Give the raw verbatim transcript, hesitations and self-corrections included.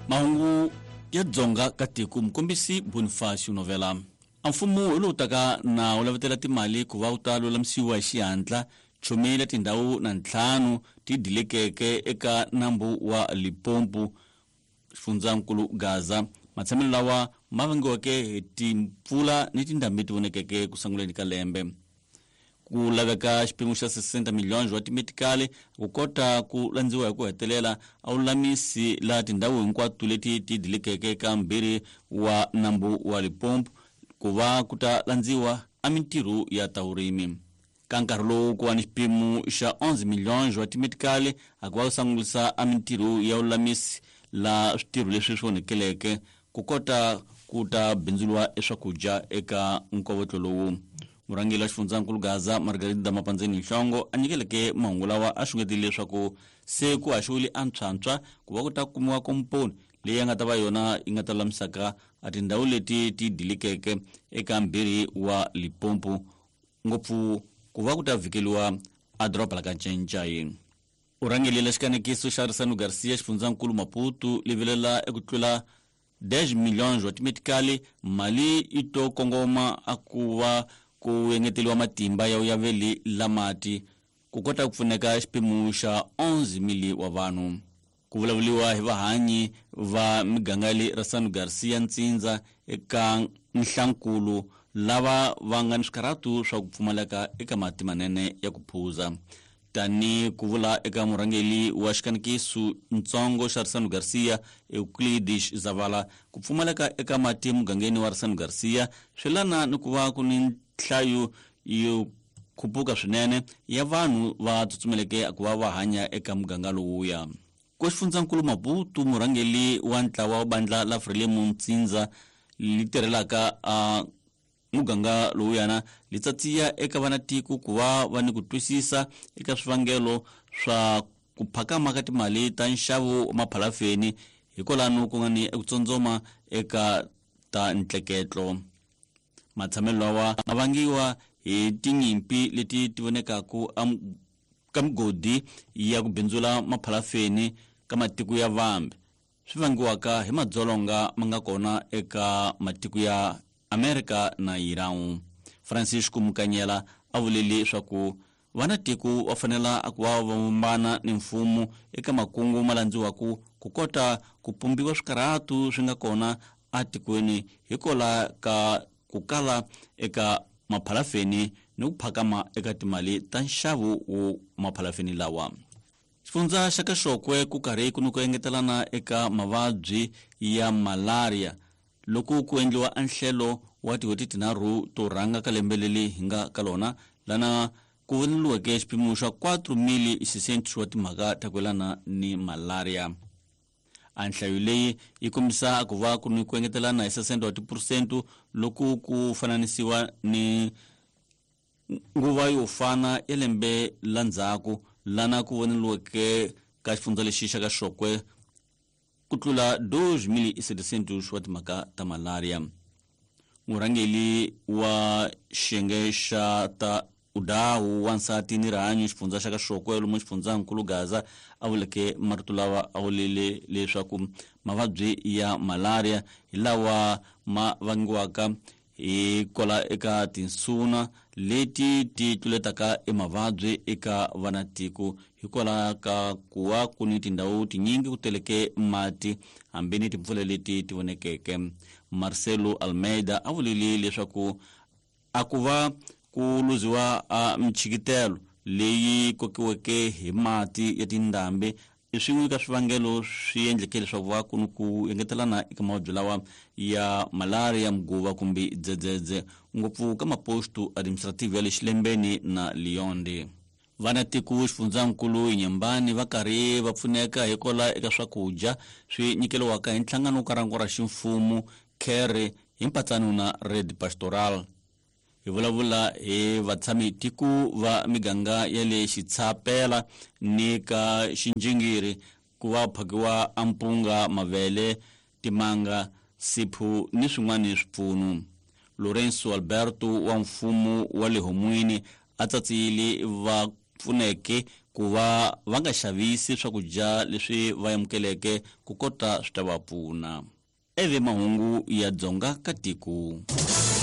Mahungu ya Dzonga ka tiko mukombisi Bonifacio Novela. A mfumo hi lowu taka na wu lavetela timali ku va wu ta lulamisiwa hi xihatla chumile tindhawu na ntlhanu ti dilekeke eka nambu wa Limpopo xifundzankulu Gaza. Matshamelo lawa ma vangiweke hi timpfula ni tindhambi ti vonekeke ku sunguleni ka lembe. Ku laveka xipimo xa sesenta milhões wa timetikali ku kota ku landziwa hi ku hetelela a lulamisi la tindhawu hinkwato leti ti dilekeke ka mbirhi wa nambu wa Limpopo ku va ku ta landziwa a mintirho ya ta vurimi. Ka nkarhi lowu ku va ni xipimo xa onze milhões wa timetikali a ku va ku sungulisa a mintirho ya lulamisi la switirho leswi swi onhekeleke ku kota ku ta bindzuriwa eswakudya eka nkovotlo lowu. Murhangeri wa xifundzankulu Gaza Margarida Mapandzeni Nhlongo a nyikeleke mahungu lawa a xungetile leswaku se ku haxiwile antshwantshwa ku va ku ta kumiwa komponi leyi ya nga ta va yona yi nga ta lulamisaka a tindhawu leti ti dilikeke eka mbirhi wa Limpopo ngopfu ku va ku ta vhikeliwa a doroba la ka Ncencai. U rhangelela xikanekiso xa Arisano Garcia xifundzankulu Maputo livilela eku tlula dez milhões wa timetikali mali yi to kongoma a ku va ku engeteliwa matimba ya uyaveli la mati ku kota ku pfuneka xipimo xa onze mili wa vanhu. Ku vulavuriwa hi vahanyi va miganga le Arisano Garcia Ntsindza eka Nhlankulu lava va nga ni swikarhatu swa ku pfumaleka eka mati manene ya ku phuza. Tani ku vula eka murhangeri wa xikanekiso ntsongo xa Arisano Garcia Euclides Zavala, ku pfumaleka eka mati mugangeni wa Arisano Garcia swi lana ni ku va ku ni nhlayo yo khupuka swinene ya vanhu va tsutsumeleke ku va va hanya eka muganga lowuya. Ku xifundzankulu Maputo murhangeri wa ntlawa wa bandla la Frelimo Ntsindza li tirhelaka a muganga lowuyana li tsatsiya eka vanatiko ku va va ni ku twisisa eka swivangelo swa ku phakama ka timali ta nxavo wa maphalafeni hikwalano ku nga ni eku tsondzoma eka ta ntleketlo. Matshamelo lawa ma vangiwa hi tinyimpi leti ti vonekaku ka migodi ya ku bindzula maphalafeni ka matiko ya vambe swi vangiwaka hi madzolonga ma nga kona eka matiko ya Amerika na Iran. Francisco Mukanyela a vulele leswaku vanatiko va fanela ku va va vumbana ni mfumo eka makungu ma landziwaku ku kota ku pumbiwa swikarhatu swi nga kona atikweni hikwalaho ka ku kala eka maphalafeni ni ku phakama eka timali ta nxavo wo maphalafeni lawa. Xifundza xa Kaxokwe ku karhi ku ni ku engetelana eka mavabyi ya malaria loko ku endliwa anhlelo wa tin'hweti tinharhu to rhanga ka lembe leri hi nga ka lona lana ku voneliweke xipimo xa quatro mil seiscentos wa timhaka ta ku yelana ni malaria. A nhlayo leyi yi kombisa ku va ku ni ku engetelana hi sesenta wa tiphurusente loko ku fananisiwa ni nguva yo fana ya lembe la ndzhaku lana ku voneliweke ka xifundza lexi xa Kaxokwe ku tlula dois mil setecentos wa timhaka ta malaria. Murhangeri wa xiyenge xa ta udawu wansati ni rihanyo xifundza xa Kaxokwe lomu xifundzankulu Gaza a vuleke marito lawa a vulele leswaku mavabyi ya malaria hi lawa ma vangiwaka hi kwala eka tinsuna leti ti tluletaka emavabyi eka vanatiko hikwalaho ka ku va ku ni tindhawu tinyingi ku teleke mati hambi ni timpfula leti ti vonekeke. Marcelo Almeida a vulile leswaku a ku va ku luziwa a michikitelo leyi kokiweke hi mati ya tindhambi i swin'we ka swivangelo swi endleke leswaku va ku ni ku engetelana eka mavabyi lawa ya malaria, mguva kumbe dzedzedze ngopfu ka maposto administrative ya le Xilembeni na Lionde. Vanatiko xifundzankulu Inyambani va karhi va pfuneka hikwalaho eka swakudya swi nyikeriwaka hi nhlangano ka rango ra ximfumo CARE hi mpatsano na Red Pastoral. Hi vulavula hi vatshami tiko va miganga ya le Xitshapela ni ka Xinjingiri ku va phakiwa ampunga, mavele, timanga, siphu ni swin'wana swipfuno. Lorenzo Alberto wa mfumo wa le Homwini a tsatsile va pfuneke ku va va nga xavisi swakudya leswi va amukeleke ku kota swi ta va pfuna. Eve mahungu ya Dzonga ka tiko.